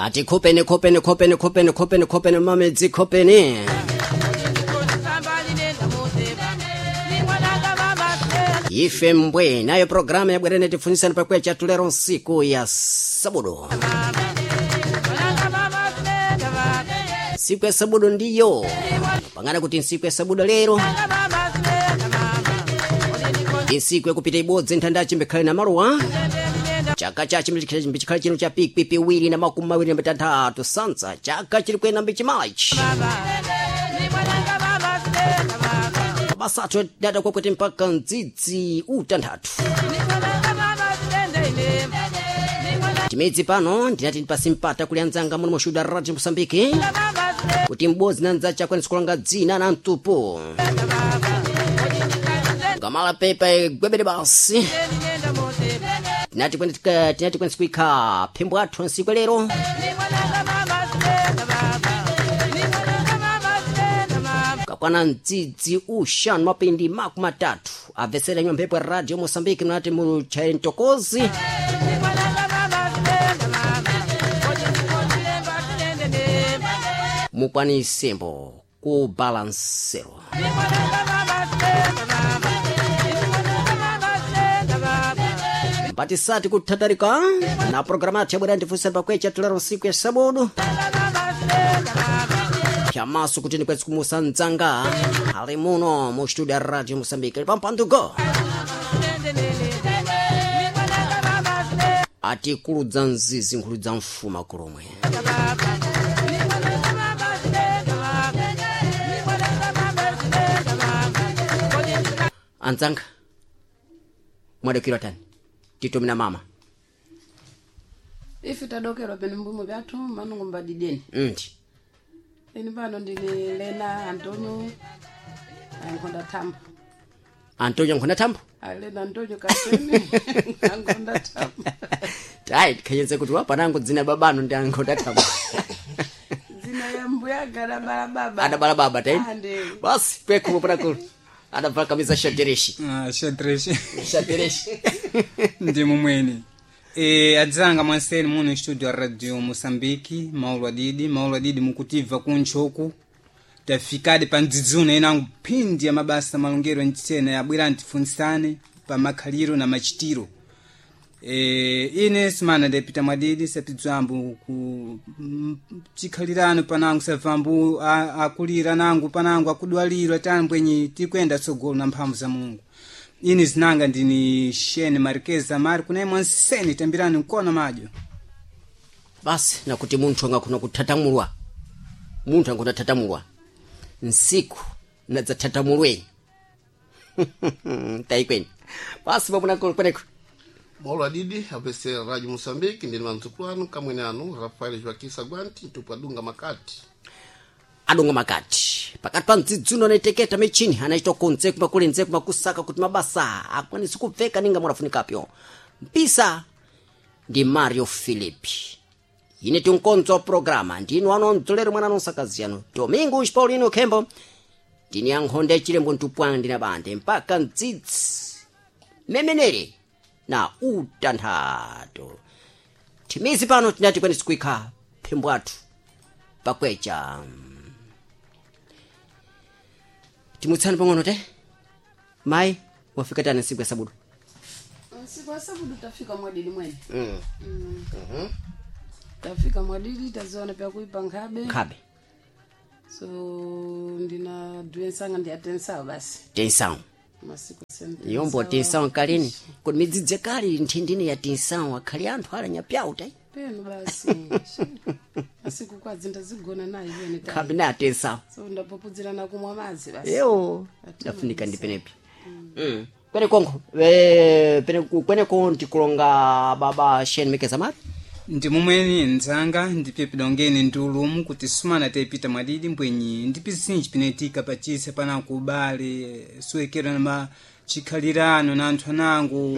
Tati khupeni khupeni khupeni khupeni khupeni khupeni mamedzi khupeni. Ife mbwe nayo programu yabwerene tifunisani pakwecha tulero nsiku ya sabudu. Siku ya sabudu ndiyo pangana kuti nsiku ya sabudu lero insiku yakupita ibodzi nthandachi mbikhale na maluwa chaka chachi mbichikhale chino cha pikwi piwiri na makumi mawiri na mitanthatu sansa chaka chili kuyenda mbichimachi mabasa athu dada kwakwete mpaka mdzidzi utanthatu timidzi pano ndinati ndipasi mpata kuli anzanga muno mushuda radio mosambiki kuti m'bodzi na mdzace akwanise kulanga dzina na mtupu ngamala pepa igwebere basi tinati kwensi kuikha phimbo athu nsiku lero kakwana mdzidzi uxanu mapindi makumi atatu abvesera nywa mphepo ya radio mosambiki mnati muchaire mtokozi mukwanisembo ku balansero mpatisati kuthatarika na programa yathu yabwera ndifunsa pakwecha tulero nsiku ya sabudu pyamaso kuti ndikwetsi kumusa mdzanga ali muno mu studio ya radio mosambiki pampandugo atikuludza mzizi nkhuludza mfuma kulomwe anzanga mwadokirwa tani titumina mama ife tadokerwa pene mbumo byathu manungu mbadideni ndi ini pano ndili lena antonio ankhonda thambo antonio nkhonda thambo alena antonio kaseme ankhonda thambo tayi tikhanyenze kuti wapanango dzina babano ndi ankhonda thambo dzina ya mbuyaga adabala baba adabala baba tayi Ah, ndi. basi kwekhumo panakulu adabvala kamisa shatereshi Ah, xadrez shatereshi ndi mumweni e, adzanga mwanseni muno studio ya radio moçambique maulu adidi maulu adidi mukutibva kuntchoku tafikadi pa mdzidzuna inango phindi ya mabasa malongero ncitsena yabwera ntifunisane pa makhaliro na machitiro e, ine simana ndapita mwadidi sapidzwambo ku chikhalirano panango savambu akulira nangu panango akudwalirwa tambwenyi tikwenda tsogolo na mphamvu za mulungu ine zinanga ndini shene marikeza mari kunaye mwanseni tambirani mkono madyo basi nakuti munthu angakhona kuthatamulwa munthu angona thatamulwa nsiku nadzathatamulweni tayikweni basi pamunakulu kweneko Maulu adidi apese radio Moçambique ndini mandzukulu anu kamwene anu Rafael Joaquim Saguanti mtupu adunga makati adonga makati pakati pa mdzidzuno anaiteketa michini anachita konze kumakule nze kumakusaka kuti mabasa akwanise kubveka ninga mwanafunikapyo mpisa ndi mario philipi ine tinkonzo wa programa ndinu anondzolero mwana nonsakazi yanu domingos paulino khembo ndini yankhonde yachilembo ntupwanga ndina bande mpaka mdzidzi memenere na utanthatu thimizi pano tinati kwenesi kuikha phimbo athu pakwecha timutsani pang'ono te mayi wafika tani nsiku ya sabudu nsiku ya sabudu tafika mwadidi mwene tafika mwadidi taziona pyakuipa nkhabe nkhabe so ndina duensanga ndiyatensawo basi tensawu masiku yombo tensawu kalini kuti midzidzi yakale nthindini ya tensawu akhali anthu alanyapyawu te penu basi masiku kwadzi ndazigona nayo pene tayi. nkhabe na tensawu so ndapopudzirana kumwa madzi basi ewo Atima ndafunika ndi misa. penepi kwenekonko kweneko ndikulonga baba shen mekeza mari ndi mumweni ndzanga ndipyepidongeni ndi ulumu kuti sumana taipita mwadidi mbwenyi ndi pizinji pinetika pachisa panango ubale suwekera na chikhalirano na anthu anango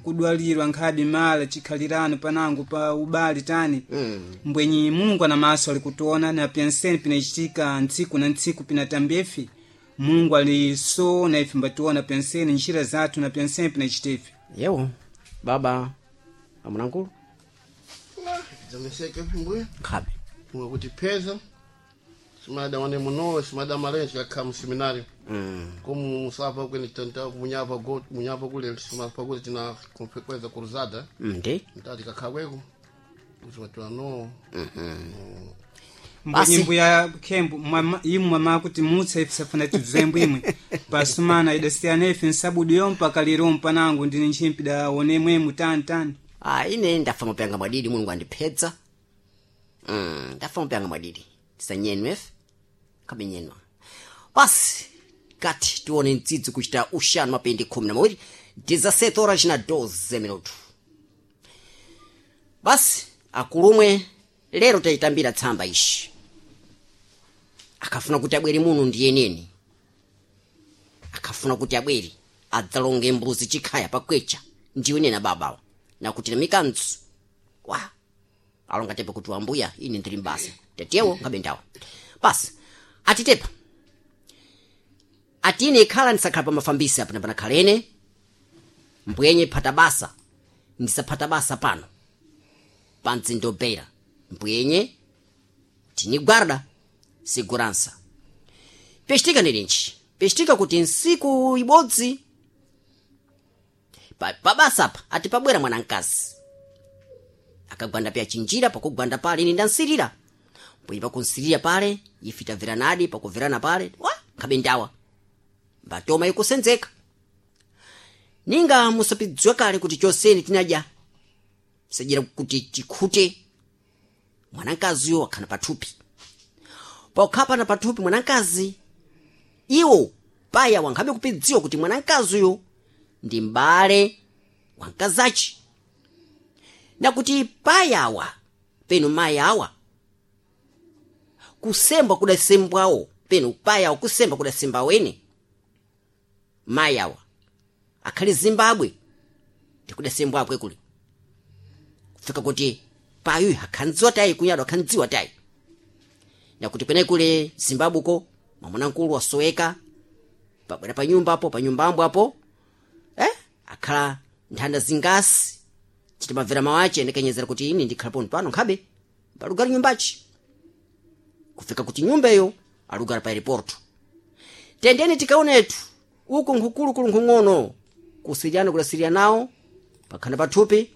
kudwalirwa nkhabe mala chikhalirano panango pa ubale tani mbwenyi mulungu ana maso ali kutiona na pyanseni pinachitika ntsiku na ntsiku pinatambefi mulungu ali so na ife mbationa pyanseni njira zathu na pyanseni pinachitefi yewo baba amunankulu Tidzameseke mbuya Nkhabe. mwe kuti peza simada wane munowe simada malenji kakha mu seminario como musapa kwene tanta munyapa go munyapa kule simapa kule tina kweza cruzada Ndi. mtati kakhakweko kuti no Basi. Mbwe nyimbo ya khembo imwe mama kuti mutsa ife safuna tidzembo imwe pasumana idasiyana ife nsabudu yompa kalirompa nangu ndine ntchimpi da one mwemu tani tani. Ah, ine ndafa mapyanga mwadidi mulungu andiphedza. Ndafa mapyanga mwadidi tisanyenwe efe kabenyenwa basi kati tione mtsitsi kuchita uxanu mapendi 12 17 horas na 12 minuto. Basi akulumwe lero tayitambira tsamba ishi akafuna kuti abwere muno ndiyeneni akafuna kuti abwere adzalonge mbuzi chikhaya pakwecha ndiwenena babawa nakuti namikanzu wa alonga tepa kuti wambuya ine ndiri mbasa tetewo ngabe ndawa basi atitepa atine ikhala ndisakhala pamafambisi apano panakhalene mbwenye phata basa ndisaphata basa pano pandzindobera mbwenye tinigwarda segurança pestika ndilinji pestika kuti nsiku ibodzi pabasa apa ati pabwera mwanamkazi akagwanda pya chinjira pakugwanda pale ine ndansirira mbwenye pakunsirira pale ife tabveranadi pakuverana pale wa nkhabe ndawa mbatoma ikusenzeka ninga musapidziwa kale kuti choseni tinadya sajira kuti tikhute mwanamkaziyo wakhala pathupi pokhapana pathupi mwanamkazi iwo paya wankhabe kupidziwa kuti mwanamkaziyo ndi m'bale wa mkazachi nakuti payawa penu mayi awa kusembwa kudasembwawo penu payawa kusembwa kudasembawo ene mayi awa akhali zimbabwe ndikudasembwakwe kuli kufika kuti payu akhandziwa tayi kunyado akhandziwa tayi nakuti kwenekule zimbabwe ko mwamuna wasoweka pabwera pa nyumba apo pa nyumbambo apo akhala nthanda zingasi chitimabvera mawache ndikenyezera kuti ini ndikhala pano pano nkhabe palugala nyumbachi kufika kuti nyumba iyo alugala pa aeroporto tendeni tikaonetu uku nkhukulukulu nkhung'ono kusiriyana kudasiriya nawo pakhanda pathupi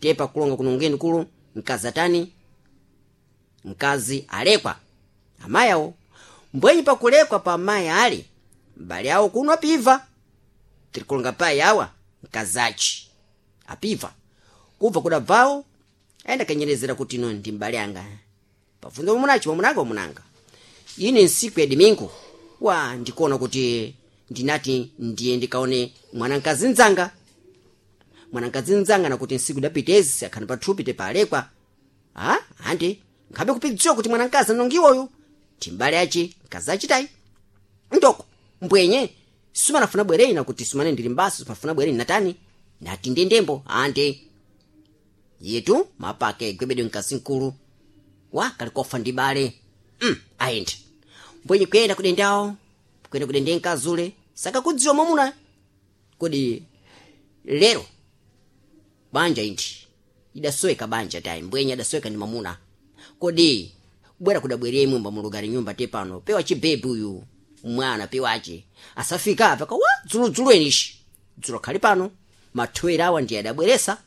te pakulonga kunongeni kulu mkazi atani mkazi alekwa amayi awo mbwenyi pakulekwa pa amayi ali mbale awo kuno apiva tirikulonga payi awa mkazachi apiva kubva kudabvawo ayenda kanyerezera kuti ino ndi mbale anga pabvunza mwamunachi mwamunanga mwamunanga ine nsiku ya domingo wa ndikuona kuti ndinati ndiye ndikaone mwanamkazi mdzanga mwanamkazi mdzanga nakuti nsiku idapitezi akhani pathupi tepalekwa a andi nkhabe kupidziwa kuti mwanamkazi anongiwoyo timbale achi mkazi achitayi ndoko mbwenye sumanafuna bwereni nakuti sumane ndili mbaso sumanafuna bwereni natani nati ndendembo andi yetu mapake gwebedwe mkazi mkulu wa kalikofa ndi bale ayende mbwenye kuyenda kudendawo kuyenda kudende mkazule sakakudziwa mwamuna kodi lero banja indi idasoweka banja tayi mbwenye adasoweka ndi mwamuna kodi kubwera kudabwerera imwemba mulugari nyumba te pano pewa chibebi uyu mwana pewache asafika apa kawa dzuludzulo enishi dzulo khali pano mathwera awa ndiye adabweresa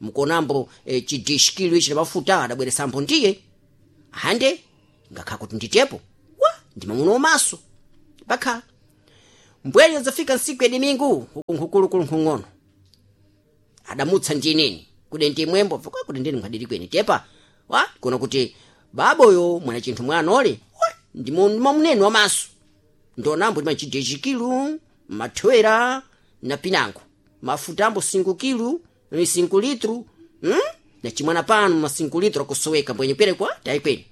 mkonambo chidishikilo ichi mafuta adabweresambo ndiye hande ngakhala kuti nditepo wa ndi mwamuna wamaso bakhala mbwenye zafika nsiku ya dimingu uku nkhukulukulu nkhung'ono adamutsa ndineni kude ndi mwembo vokwa kuti ndini nkhadiri kweni tepa wa kuona kuti baboyo mwana chinthu mwana ole wa ndi mwamunene wamaso ndonambo ndi machideshikilu mathwera na pinango mafuta ambo 5 kilu 5 litru Na chimwana pano ma 5 litru akusoweka mbwenye pere kwa tayi kweni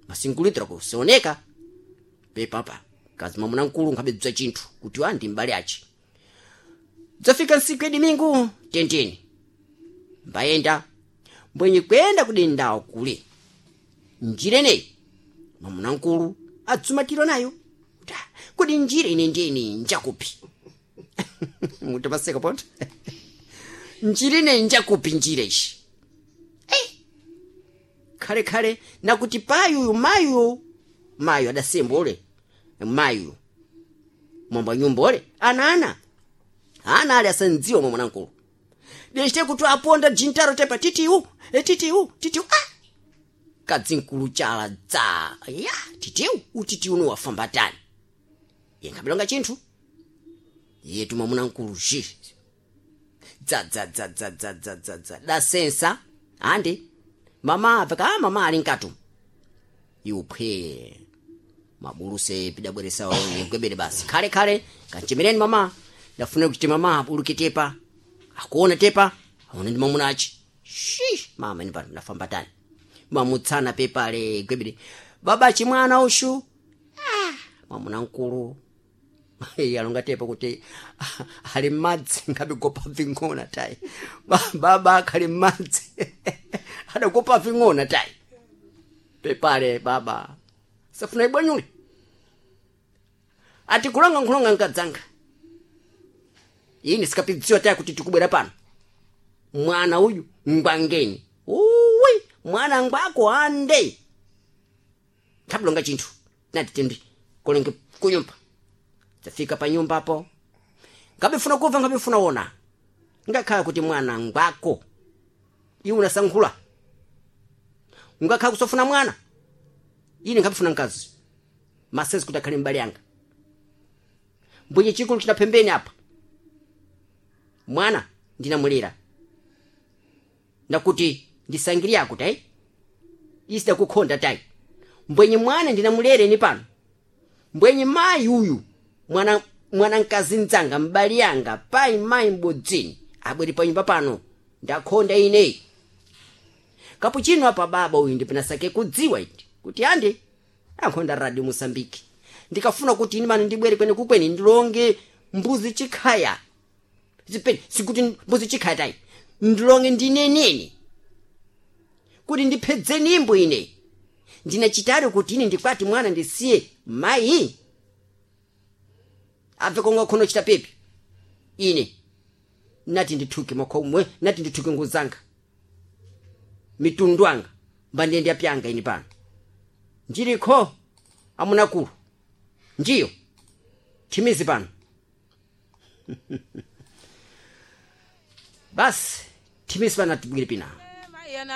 ma 5 litru akusioneka pepapa kazi mwamuna mkulu nkhabedza chinthu kuti wa ndi mbale achi dzafika nsiku ya dimingu tendeni mbayenda mbwenye kuyenda kudendawo kule njira ineyi mwamuna mkulu adzumatiro nayo kuti "Ah, kodi njira ine ndiyeni njakupi mutapaseka ponto njira ineyi njakupi njira ishi. Khalekhale nakuti payuyu mayu mayu adasemba ule mayu mwamba nyumba ule ana ana ali asandziwa mwa mwanankulu dechite kuti aponda jintaro tepa titiu titiu titiu ah kadzinkulu chala dza ya titiu utitiu uno wafamba tani yenkhabilonga chinthu yetu mwamuna nkulu ji dza dza dza dza dza dza dza dza dasensa andi mama apeka ah mama ali nkatu iuphwe mabuluse pidabweresa yegwebere basi khale khale kanchemereni mama ndafuna kuti mama abuluke tepa akuona tepa aone ndi mamuna achi shi mama ine pano ndafamba tani mamutsana pepale gwebere baba chimwana ushu ah, mwamuna mkulu alonga tepa kuti ali m'madzi ngabe gopa ving'ona tayi baba akhali m'madzi adagopa ving'ona tayi pepale baba safuna ibwanyule ati kulonga nkhulonga nkadzanga ini sikapidziwa tayi kuti tikubwera pano mwana uyu ngwangeni uwi mwana ngwako ande thabulonga chinthu nati tindi kolenge kunyumba tafika pa nyumba apo ngabifuna kuva ngabifuna wona ngakhala kuti mwana ngwako iwe unasankhula ngakhala kusofuna mwana ine ngabifuna mkazi masezi kuti akhale mbali yanga mbwenye chikulu china pembeni apa mwana ndinamulera ndakuti ndisangiri yako tayi isida kukhonda tayi mbwenye mwana ndinamulere ni pano mbwenye mayi uyu mwana mwana mkazi mdzanga mbali yanga payi mayi mbodzini abwere pa nyumba pano ndakhonda ine kapuchino apa baba uyu ndipinasake kudziwa iti kuti andi ankhonda radio mosambiki ndikafuna kuti ine mano ndibwere kwene kukweni ndilonge mbuzi chikhaya zipeni sikuti mbuzi chikhaya tayi ndilonge ndinenene kuti ndiphedze nimbo ine ndinachitari kuti ine ndikwati mwana ndisiye mayi abve konga khono chita pepi ine nati ndithuke makhomwe nati ndithuke nguzanga mitundu anga mbandende apyanga ine pano njilikho amunakulu njiyo thimizi pano basi thimizi pano atibwire pina.